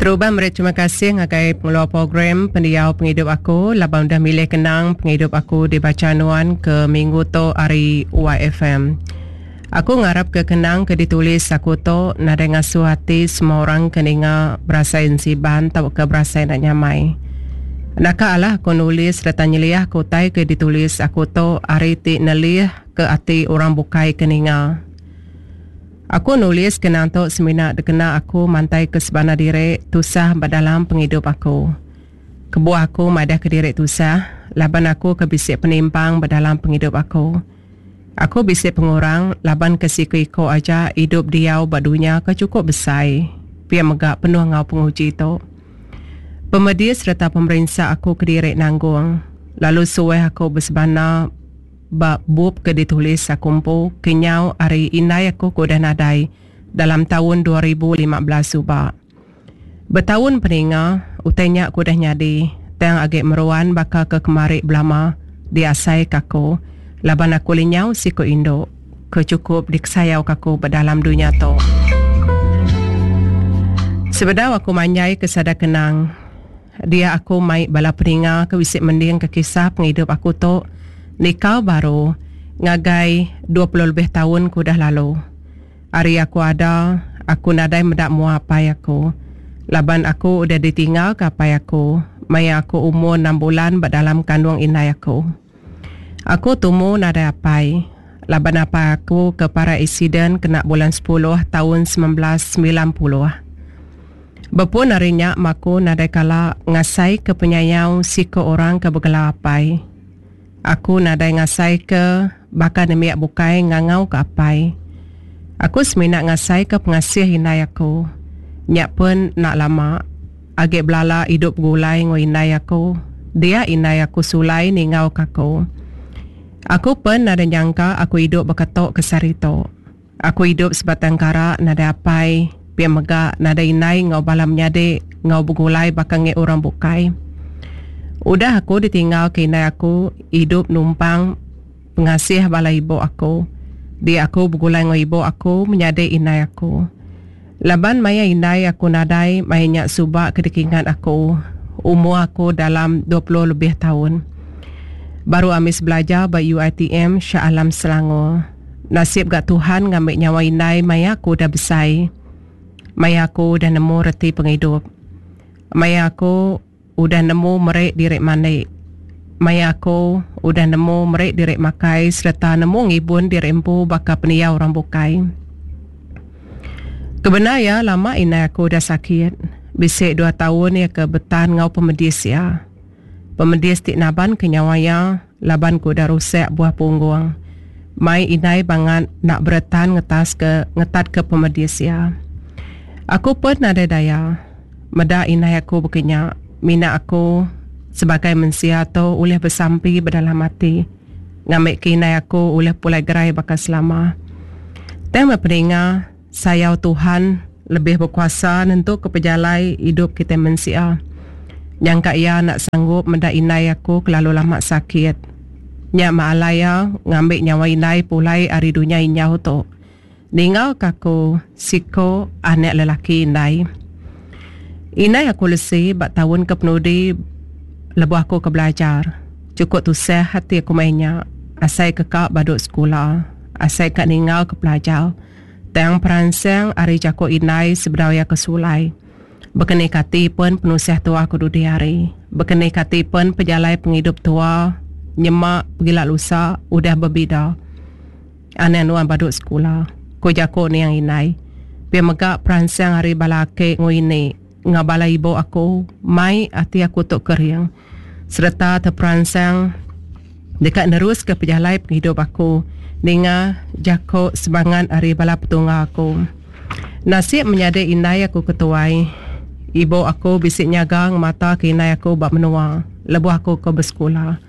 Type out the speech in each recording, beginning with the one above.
Terubah meri terima kasih ngagai pengeluar program Pendiau Pengidup Aku laban udah milih kenang pengidup aku dibacha nuan ke minggu tu ari YFM. Aku ngarapka kenang ke ditulis aku tu nadai ngasuh ati semua orang ke ninga berasai ensiban tauka berasai enda nyamai. Naka alah aku nulis sereta nyeliahka utai ke ditulis aku tu ari ti nelihka ati orang bukai ke ninga. Aku nulis kenang tu semina dikena aku mantaika sebana diri tusah ba dalam pengidup aku. Kebuah aku madahka diri tusah laban aku ke bisi penimpang ba dalam pengidup aku. Aku bisi pengurang laban ke siku-iku aja idup diau ba dunya ke chukup besai pia mega penuh enggau penguji tu. Pemedis sereta pemerinsa aku kediri nanggung lalu suah aku besebana ba bup ke ditulis aku empu kenyau ari indai aku ke udah nadai dalam taun 2015 suba. Betaun peninga utai nya ke udah nyadi tang agi meruan baka ke kemari belama diasai ke aku laban aku lenyau siku indu ke chukup dikesayau ke aku ba dalam dunya tu. Sebedau aku manjai ke sada kenang. Dia aku mai bala peninga ke bisi mendingka kisah pengidup aku tu nikal baru ngagai 20 lebih taun ke udah lalu. Ari aku ada, aku nadai meda mua apai aku laban aku udah ditinggalka apai aku maya aku umur enam bulan ba dalam kandung indai aku. Aku tumu nadai apai laban apai aku ke parai accident kena bulan sepuluh taun 1990. Bepun ari nya maku nadai kala ngasaika penyayau siku orang ke begela apai. Aku nadai ngasaika baka nembiak bukai ngangauka apai. Aku semina ngasaika pengasih indai aku. Nya pen enda lama agi belala idup begulai enggau indai aku, dia indai aku sulai ninggauka aku. Aku pen nadai nyangka aku idup baka tu ke sehari tu. Aku idup sebatang kara nadai apai, pia mega nadai indai enggau bala menyadi enggau begulai baka ngi orang bukai. Udah aku ditinggalka indai aku idup numpang pengasih bala ibu aku. Dia aku begulai enggau ibu aku menyadi indai aku. Laban maya indai aku nadai maya nya suba ke dikingat aku, umur aku dalam 20 lebih taun. Baru ambis belajar ba UiTM Shah Alam Selangor. Nasib ga Tuhan ngambi nyawa indai maya aku udah besai. Maya aku udah nemu reti pengidup. Maya aku udah nemu meri diri mandi. Maya aku udah nemu meri diri makai sereta nemu ngibun diri empu baka pendiau orang bukai. Kebendar iya lama indai aku udah sakit. Bisi dua taun iya ke betan enggau pemedis iya. Pemedis ti nabanka nyawa iya laban ke udah rusak buah punggung. Mai indai bangat enda beretan ngetaska ngetatka pemedis iya. Aku pen nadai daya. Meda indai aku baka nya, mina aku sebagai mensia tu ulih besampi bedalam ati ngambika indai aku ulih pulai gerai baka selama. Tang meh peninga Sayau Tuhan lebih bekuasa nentuka pejalai idup kitai mensia. Nyangka iya enda sanggup meda indai aku kelalu lama sakit. Nya meh alai iya ngambi nyawa indai pulai ari dunya injau tu. Ninggalka aku siko anak lelaki indai. Indai aku lesi ba taun ke penudi lebuh aku ke belajar. Chukup tusah ati aku maya nya. Asai ke ka badu sekula. Asai ka ninggalka pelajar. Tang peransang ari jaku indai sebedau iya ke sulai. Bekeni kati pen penusah tua ke dudi hari. Bekeni kati pen pejalai pengidup tua nyema pegila lusa udah bebida. Anang nuan badu sekula, ku jaku niang indai. Pia mega peransang ari bala aki enggau ini enggau bala ibu aku mai ati aku tu kering sereta teperansang deka neruska pejalai pengidup aku ninga jaku semangat ari bala petunggal aku. Nasib menyadi indai aku ke tuai, ibu aku bisi nyaga ngemataka indai aku ba menua lebuh aku ke besekula.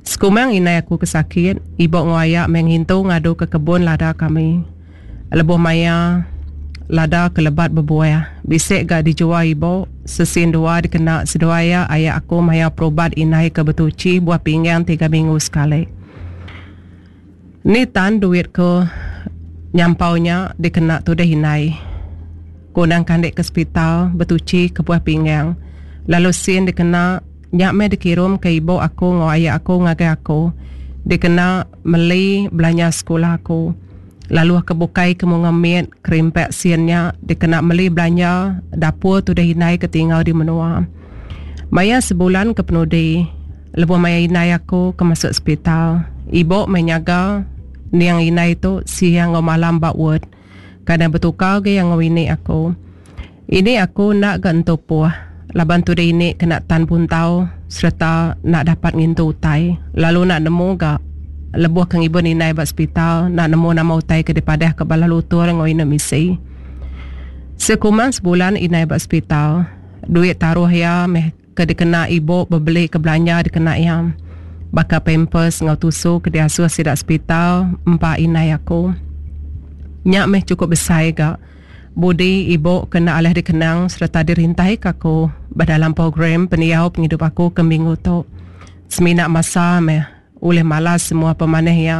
Sekumang indai aku ke sakit, ibu enggau aya meh ngintu ngaduka kebun lada kami. Lebuh maya lada ke lebat bebuah, bisi ga dijual ibu, sesin dua dikena seduai iya aya aku maya perubat indai ke betuchi buah pinggang tiga minggu sekali. Ni tan duit ke nyampau nya dikena tudih indai. Aku endang kandi ke sepital betuchi ke buah pinggang. Lalu sin dikena nya meh dikirumka ibu aku enggau aya aku ngagai aku dikena meli belanja sekula aku. Lalu ke bukai ke munga mit kerimpak sin nya dikena meli belanja dapur tudah indai ke tinggal di menua. Maya sebulan ke penudi lebuh maya indai aku ke masuk sepital, ibu meh nyaga niang indai tu siang enggau malam ba ward. Kadang betukar ga iya enggau ini aku. Ini aku enda ga entu puh laban tudah ini kena tan buntau sereta enda dapat ngintu utai lalu enda nemu ga lebuh ke ngibun indai ba sepital enda nemu nama utai ke dipadah ka bala lutur enggau indu misi. Sekumbang sebulan indai ba sepital, duit taruh iya meh ke dikena ibu bebeli ke belanja dikena iya baka pampers enggau tusu ke diasuh sida sepital empa indai aku. Nya meh chukup besai ga budi ibu ke enda alih dikenang sereta dirintaika aku ba dalam program pendiau pengidup aku ke minggu tu. Semina masa meh ulih malas semua pemanah iya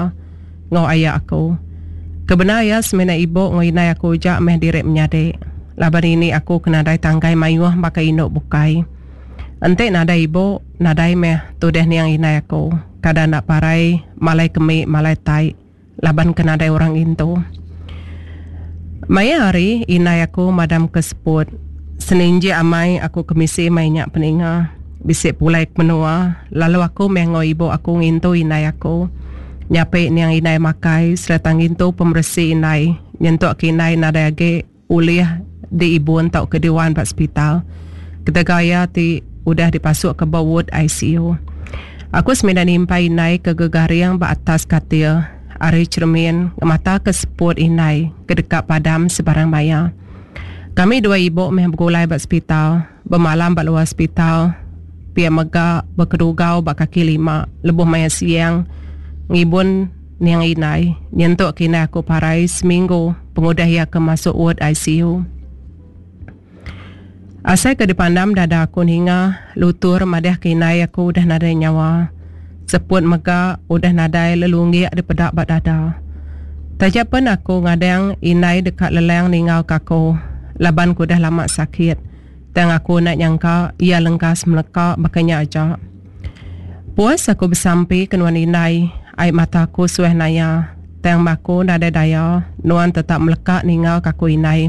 enggau aya aku. Ke bendar iya semina ibu enggau indai aku aja meh diri menyadi laban ini aku ke nadai tangkai mayuh baka indu bukai. Enti nadai ibu, nadai meh tudah niang indai aku kada enda parai malai kemi malai tai. Laban ke nadai orang ngintu. Maya hari indai aku madam ke seput. Seninjik amai aku kemisi mai nya peninga. Bisi pulai ke menua lalu aku meh enggau ibu aku ngintu indai aku. Nyapi niang indai makai sereta ngintu pemeresi indai nyentuk ke indai nadai agi ulih diibun tauka diwan ba sepital ketegal iya ti udah dipasukka ba ward ICU. Aku semina nimpai indai ke gegaring ba atas katil ari cheremin ngemataka seput indai ke deka padam sebarang maya. Kami dua ibu meh begulai ba sepital, bemalam ba luar sepital, pia mega bekedugau ba kaki lima lebuh maya siang ngibun Niang indai, nyentuk ke indai aku parai seminggu pengudah iya ke masuk ward ICU. Asai ke dipandam dada aku ninga lutur madah ke indai aku udah nadai nyawa. Seput mega udah nadai lelunggik dipeda ba dada. Taja pen aku ngadang indai deka lelang ninggalka aku laban ke udah lama sakit, tang aku enda nyangka iya lengkas meleka baka nya aja. Puas aku besampi ke nuan indai, ai mata aku suah naya. Tang ba aku nadai daya, nuan tetap meleka ninggal ke aku indai.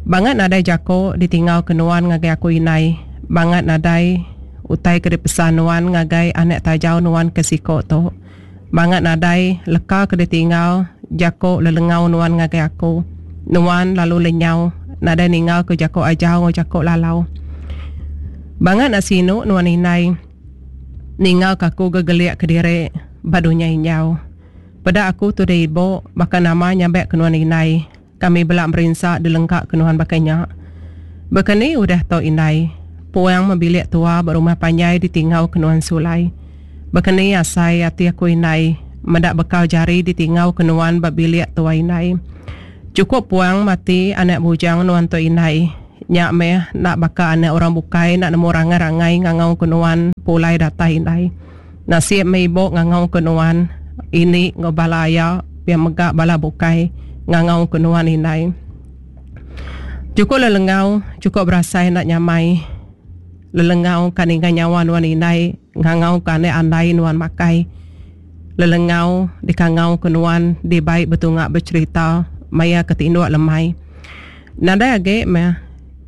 Bangat nadai jako ditinggal ke nuan ngagai aku indai. Bangat nadai utai ke dipesan nuan ngagai anak tajau nuan ke siko tu. Bangat nadai leka ke ditinggal jako lelengau nuan ngagai aku. Nuan lalu lenyau nadai ninggal ke jako ajar enggau jako lalau. Bangat enda sinu nuan indai ninggal ke aku gegelik kediri ba dunya injau. Peda aku tudah ibu baka nama nyabak ke nuan indai. Kami bela merinsa dilengka ke nuan baka nya. Baka ni udah tu indai? Puang meh bilik tua ba rumah panjai ditingau ke nuan sulai. Baka ni asai ati aku indai meda bekau jari ditingau ke nuan ba bilik tua indai. Chukup puang mati anak bujang nuan tu indai. Nya meh enda baka anak orang bukai enda nemu rangai-rangai ngangau ke nuan pulai datai indai. Nasib meh ibu ngangau ke nuan ini enggau bala aya pia mega bala bukai ngangau ke nuan indai. Chukup lelengau chukup berasai enda nyamai lelengau ka ninga nyawa nuan indai ngangau ke anak andai nuan makai lelengau dikangau ke nuan dibai betunga becherita maya ke tinduk lemai. Nadai agi meh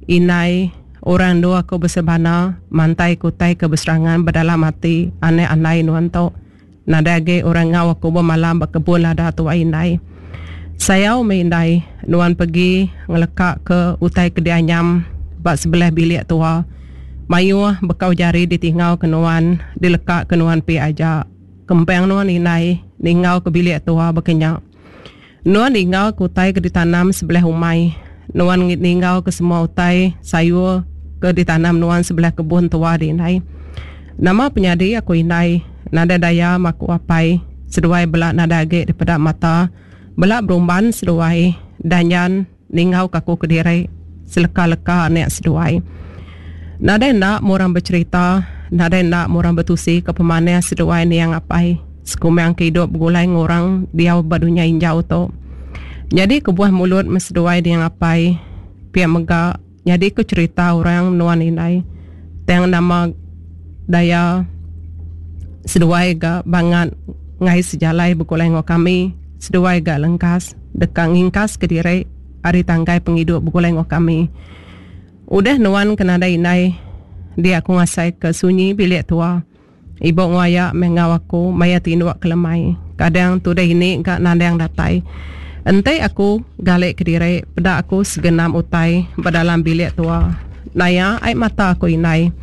indai. Orang endur aku besebana mantai ke utai ke beserangan ba dalam ati anak andai nuan tu. Nadai agi orang enggau aku bemalam ba kebun lada tuai indai. Sayau meh indai nuan pegi ngeleka ke utai ke dianyam ba sebelah bilik tua. Mayuh bekau jari ditinggal ke nuan dileka ke nuan pia aja. Kempang nuan indai ninggal ke bilik tua baka nya. Nuan ninggal ke utai ke ditanam sebelah umai. Nuan ninggal ke semua utai sayur ke ditanam nuan sebelah kebun tua di indai. Nama penyadi aku indai, nadai daya maku apai, seduai bela nadai agi dipeda mata, bela berumban seduai danjan ninggal ke aku kediri seleka-leka anak seduai. Nadai enda meh orang becherita, nadai enda meh orang betusi ke pemanah seduai niang apai sekumbang ke idup begulai enggau orang diau ba dunya injau tu. Nyadi kebuah mulut meh seduai niang apai. Pia mega nyadi ku cherita orang nuan indai tang nama daya seduai ga bangat ngai sejalai begulai enggau kami seduai ga lengkas deka ngingkas kediri ari tangkai pengidup begulai enggau kami. Udah nuan ke nadai indai dia aku ngasai ke sunyi bilik tua. Ibu enggau aya meh enggau aku maya tinduk ke lemai. Kadang tudah ini ga nandang datai. Enti aku gali kediri peda aku segenam utai ba dalam bilik tua. Naya ai mata aku indai.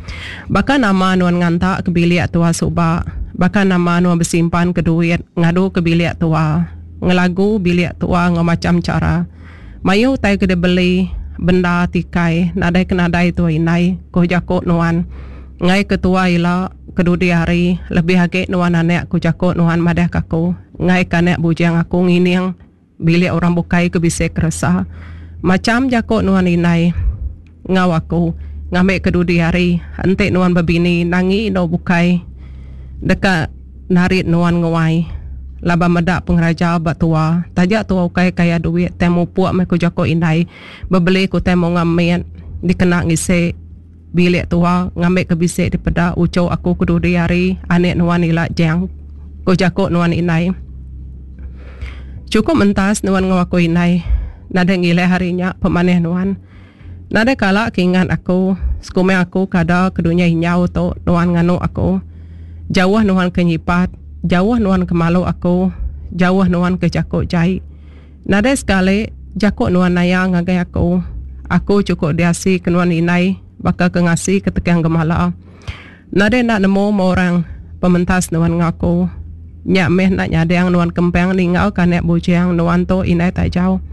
Baka nama nuan nganta ke bilik tua suba. Baka nama nuan besimpan ke duit ngadu ke bilik tua. Ngelagu bilik tua enggau macham chara. Mayuh utai ke dibeli benda tikai nadai ke nadai tua indai, ko jaku nuan. Enggai ke tua ila ke dudi hari lebih agi nuan anak ku jaku nuan madah ke aku. Enggai ke anak bujang aku ngining bilik orang bukai ke bisi keresa. Macham jaku nuan indai enggau aku ngambi ke dudi hari enti nuan bebini nangi indu bukai deka narit nuan nguai laban meda pengeraja ba tua. Taja tua ukai kaya duit tang mupuk meh ku jaku indai bebeli ke utai munga mit dikena ngisi. Bilik tua ngambika bisi dipeda uchu aku ke dudi hari anik nuan ila jang, ku jaku nuan indai. Chukup mentas nuan enggau aku indai. Nadai ngilih hari nya pemanah nuan. Nadai kala ke ingat aku sekumang aku kada ke dunya injau tu nuan nganu aku. Jauh nuan ke nyipat, jauh nuan ke malu aku, jauh nuan ke jaku jai. Nadai sekali jaku nuan naya ngagai aku. Aku chukup diasi ke nuan indai baka ke ngasi ke tekang gemala. Nadai enda nemu meh orang pementas nuan enggau aku. Nya meh enda nyadang nuan kempang ninggal ke anak bujang nuan tu indai tajau.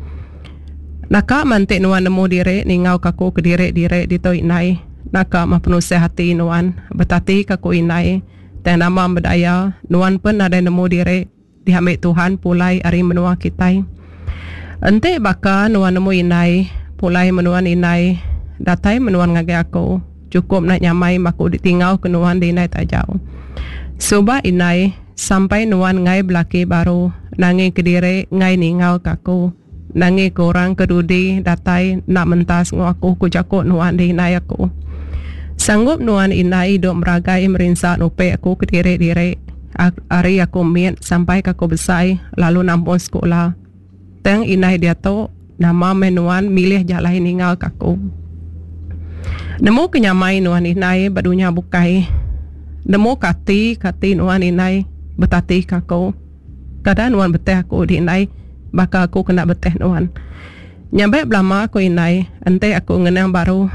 Naka meh enti nuan nemu diri ninggal ke aku kediri-diri ditu indai. Naka meh penusah ati nuan betati ke aku indai. Tang nama bedaya nuan pen nadai nemu diri. Diambi Tuhan pulai ari menua kitai. Enti baka nuan nemu indai, pulai menuan indai, datai menuan ngagai aku, chukup enda nyamai maku ditingau ke nuan di indai tajau. Suba indai, sampai nuan enggai belaki baru, nangi kediri enggai ningau ke aku, nangi ke orang ke dudi datai enda mentas enggau aku ku jaku nuan di indai aku. Sanggup nuan indai idup meragai merinsa nupi aku kediri diri. Ari aku mit sampai ke aku besai lalu nampung sekula. Tang indai diatu nama meh nuan milih jalai ninggal ke aku. Nemu ke nyamai nuan indai ba dunya bukai. Nemu ke ati ke ati nuan indai betati ke aku. Kada nuan beteh aku di indai baka aku kena beteh nuan. Nyabek belama aku indai enti aku ngenang baru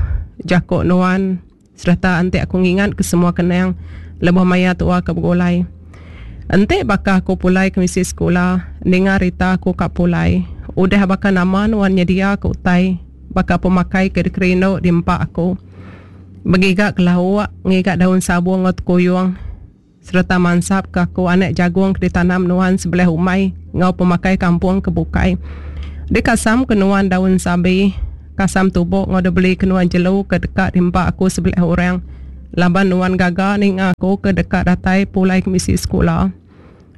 jaku nuan. Sereta enti aku ngingat ke semua kenang lebuh maya tua ke begulai. Enti baka aku pulai ke misi sekula, ninga rita aku ka pulai. Udah baka nama nuan nyedia ke utai baka pemakai ke dikerindu diempa aku. Begiga ke lauk, ngiga daun sabung enggau tekuyung sereta mansap ke aku anak jagung ke ditanam nuan sebelah umai enggau pemakai kampung ke bukai. Dikasam ke nuan daun sabi, kasam tubok enggau dibeli ke nuan jelu ke deka diempa aku sebelah orang laban nuan gaga ninga aku ke deka datai pulai kemisi sekula.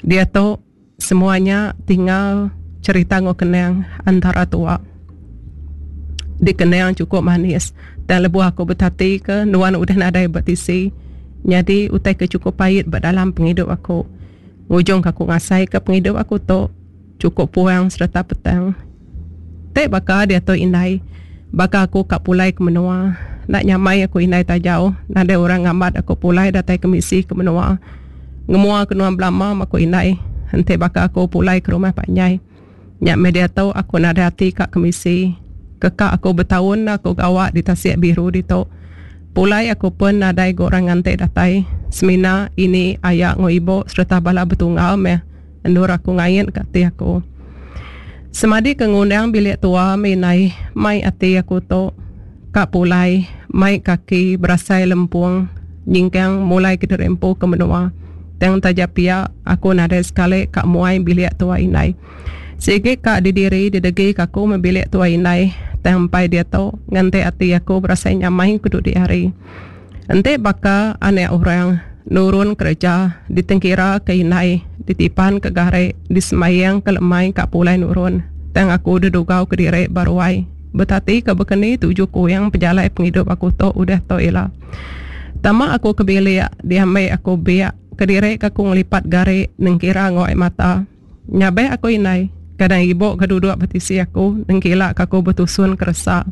Diatu. Semua nya tinggal cherita enggau kenang antara tua. Dikenang chukup manis tang lebuh aku betatika nuan udah nadai ba tisi nyadi utai ke chukup pait ba dalam pengidup aku. Ngujungka aku ngasaika pengidup aku tu chukup puang sereta petang. Ti baka diatu indai baka aku ka pulai ke menua enda nyamai aku indai tajau nadai orang ngambat aku pulai datai kemisi ke menua. Ngemua ke nuan belama meh aku indai enti baka aku pulai ke rumah panjai. Nya meh diatu aku nadai ati ka kemisi. Keka aku betaun aku gawa di tasik biru ditu. Pulai aku pen nadai ga orang nganti datai semina ini aya enggau ibu sereta bala betunggal meh endur aku ngait ka ati aku. Semadi ke ngundang bilik tua meh indai mai ati aku tu ka pulai mai kaki berasai lempung nyingkang mulai kediri empu ke menua. Tang taja pia aku nadai sekali ka muai bilik tua indai. Sigi ka didiri didegi ka aku meh bilik tua indai tang empai diatu nganti ati aku berasai nyamai ke dudi hari. Enti baka anak orang nurun kereja ditengkira ke indai ditipan ke gari disembayang ke lemai ka pulai nurun tang aku dedugau kediri ba ruai. Betati ka baka ni tuju kuing pejalai pengidup aku tu udah tu ila. Tama aku ke bilik diambi aku biak kediri ka aku ngelipat gari nengkira enggau ai mata. Nyabak aku indai kadang ibu ke duduk ba tisi aku nengkila ka aku betusun keresa.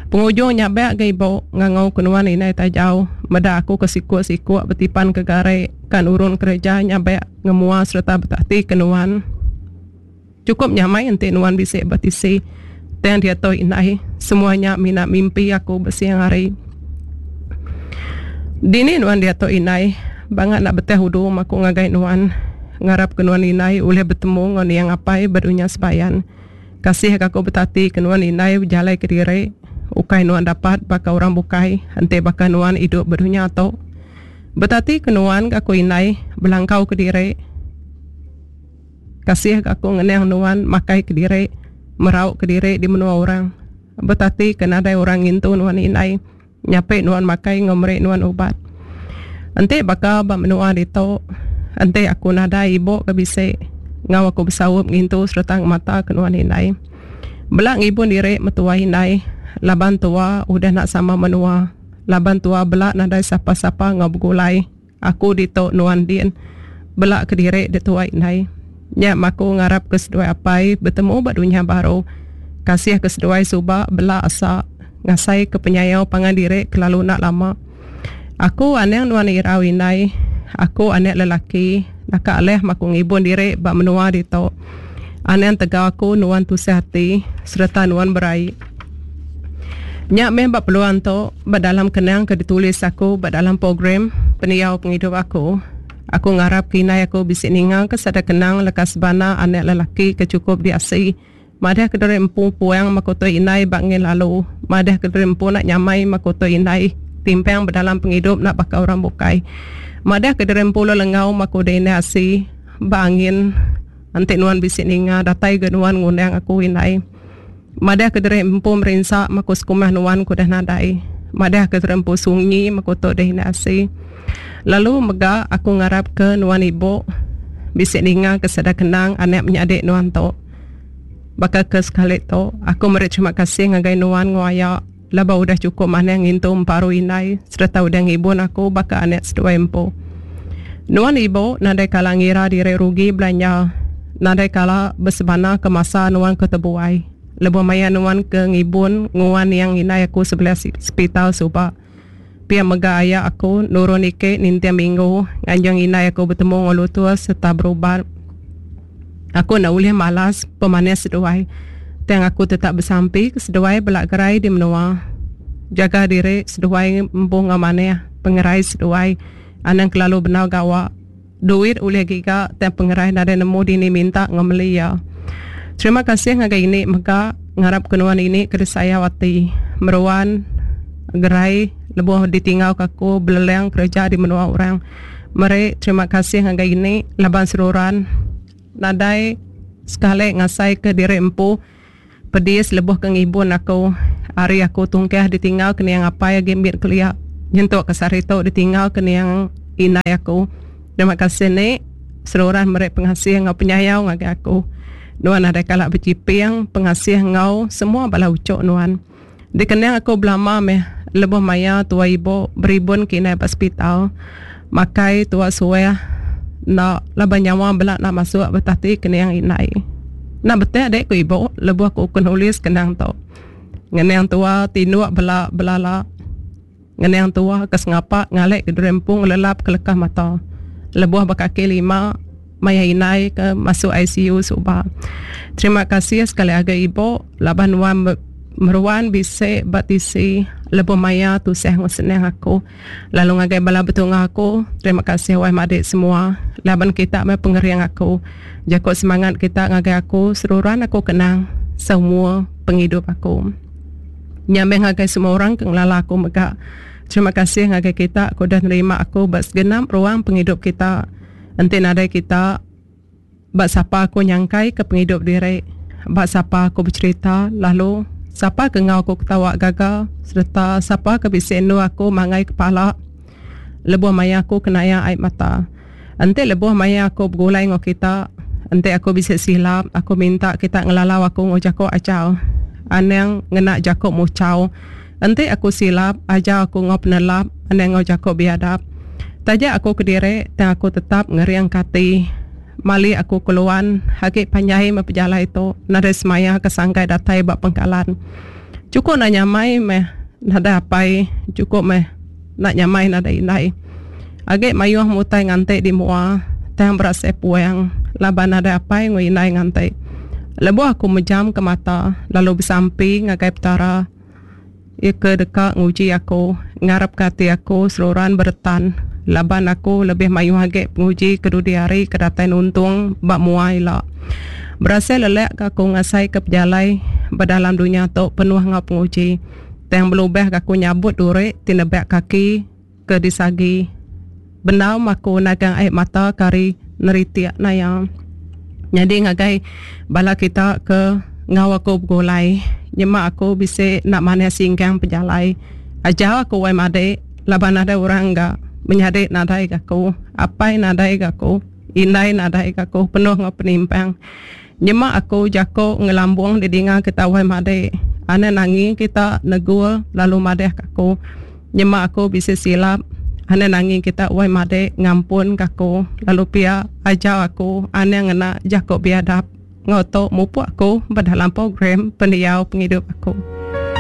Pengujung nyabak ga ibu ngangau ke nuan indai tajau meda aku ke sikuk-sikuk betipan ke gari ka nurun kereja nyabak ngemua sereta betati ke nuan. Chukup nyamai enti nuan bisi ba tisi. Tang diatu indai, semua nya mina mimpi aku ba siang hari. Dini nuan diatu indai, bangat enda betah udu maku ngagai nuan. Ngarap ke nuan indai ulih betemu enggau niang apai ba dunya sebayan. Kasih ga aku betati ke nuan indai bejalai kediri. Ukai nuan dapat baka orang bukai enti baka nuan idup ba dunya tu. Betati ke nuan ga aku indai belangkau kediri. Kasih ga aku ngenang nuan makai kediri, merau kediri di menua orang. Betati ke nadai orang ngintu nuan indai, nyapi nuan makai enggau meri nuan ubat. Enti baka ba menua ditu, enti aku nadai ibu ke bisi enggau aku besaup ngintu sereta ngemata ke nuan indai. Bela ngibun diri metuai indai laban tua udah enda sama menua, laban tua bela nadai sapa-sapa enggau begulai. Aku ditu nuan din. Bela kediri dituai indai. Nya maku ngarap ke seduai apai betemu ba dunya baru. Kasih ke seduai suba bela asa ngasai ke penyayau pangan diri kelalu enda lama. Aku anang nuan irau indai. Aku anak lelaki naka alih maku ngibun diri ba menua ditu. Anang tegau aku nuan tusah ati sereta nuan beraie. Nya meh ba peluang tu ba dalam kenang ke ditulis aku ba dalam program pendiau pengidup aku. Aku ngarap ke indai aku bisi ninga ke sada kenang leka sebana anak lelaki ke chukup diasi madah ke diri empu puang mekutui indai ba ngin lalu madah ke diri empu enda nyamai mekutui indai timpang ba dalam pengidup enda baka orang bukai madah ke diri empu lelengau mekudai indai asi ba angin enti nuan bisi ninga datai ga nuan ngundang aku indai. Madah ke diri empu merinsa meku sekumah nuan ke udah nadai. Madah ke diri empu sunyi meku tu deh enda asi. Lalu mega aku ngarap ke nuan ibu bisi ninga ke sada kenang anak menyadi nuan tu. Baka ke sekali tu, aku meri terima kasih ngagai nuan enggau aya laban udah chukup manah ngintu emparu indai sereta udah ngibun aku baka anak seduai empu. Nuan ibu nadai kala ngira diri rugi belanja. Nadai kala besebana ke masa nuan ke tebuai lebuh maya nuan ke ngibun nguan niang indai aku sebelah sepital suba. Pia mega aya aku nurun ike ninting minggu nganjung indai aku betemu enggau lutur sereta berubat. Aku enda ulih malas pemanis seduai tang aku tetap besampi ke seduai bela gerai di menua. Jaga diri seduai empu enggau manah pengerai seduai anang kelalu bendar gawa. Duit ulih giga tang pengerai nadai nemu dini minta enggau meli iya. Terima kasih ngagai ini mega ngarap ke nuan ini ke disayau ati meruan gerai lebuh ditinggal ke aku belelang kereja di menua orang. Meri terima kasih ngagai ini laban seruran nadai sekali ngasai ke diri empu pedis lebuh ke ngibun aku ari aku tungkah ditinggal ke niang apai agi mit kelia nyentuk ke sehari tu ditinggal ke niang indai aku. Terima kasih ni seruran meri pengasih enggau penyayau ngagai aku. Nuan nadai kala bechiping pengasih enggau semua bala uchok nuan. Dikenang aku belama meh lebuh maya tuai ibu beribun ke indai ba sepital makai tua suah enda laban nyawa bela enda masuk betati ke niang indai. Enda betik dek ku ibu lebuh ku ke nulis kenang tu. Ngenang tua tinduk bela belala ngenang tua ke sengapa ngalek ke diri empu ngelelap ke lekah mata lebuh bekaki lima maya indai ke masuk ICU suba. Terima kasih sekali agi ibu laban nuan meruan bisi ba tisi lebuh maya tusah enggau senang aku. Lalu ngagai bala betunga aku, terima kasih wai madik semua laban kita meh pengering aku. Jaku semangat kita ngagai aku seruran aku kenang semua pengidup aku. Nya meh ngagai semua orang ke ngelala aku mega. Terima kasih ngagai kita ke udah nerima aku ba segenap ruang pengidup kita. Enti nadai kita, ba sapa aku nyangkai ke pengidup diri, ba sapa aku becherita lalu sapa ke enggau aku ketawa gaga sereta sapa ke bisi endur aku manggai kepala lebuh maya aku kenaya ai mata. Enti lebuh maya aku begulai enggau kita, enti aku bisi silap, aku minta kita ngelalau aku enggau jaku ajar. Anang ngena jaku muchau. Enti aku silap, ajar aku enggau penelap, anang enggau jaku biadap. Taja aku kediri, tang aku tetap ngeringka ati. Mali aku keluan, agi panjai meh pejalai tu, nadai semaya ke sangkai datai ba pengkalan. Chukup enda nyamai meh nadai apai, chukup meh enda nyamai nadai indai. Agi mayuh meh utai nganti di mua, tang berasai puang laban nadai apai enggau indai nganti. Lebuh aku mejamka mata lalu besampi ngagai Petara, Iya ke deka nguji aku, ngarapka ati aku seruran beretan laban aku lebih mayuh agi penguji ke dudi hari ke datai nuntung ba mua ila. Berasai lelak ga aku ngasaika pejalai ba dalam dunya tu penuh enggau penguji. Tang belubah ga aku nyabut duri ti nebak kaki ke disagi. Bendar meh aku nagang ai mata ke ari neritik naya. Nyadi ngagai bala kita ke enggau aku begulai nyema aku bisi enda manah singkang pejalai ajar aku wai madik laban nadai orang ga menyadi nadai ga aku apai nadai ga aku indai nadai ga aku penuh enggau penimpang. Nyema aku jaku ngelambung didinga kita wai madik anang nangi kita negul lalu madah ka aku. Nyema aku bisi silap, anang nangi kita wai madik ngampun ka aku lalu pia ajar aku anang ngena jaku biadap enggau tu mupuk aku ba dalam program pendiau pengidup aku.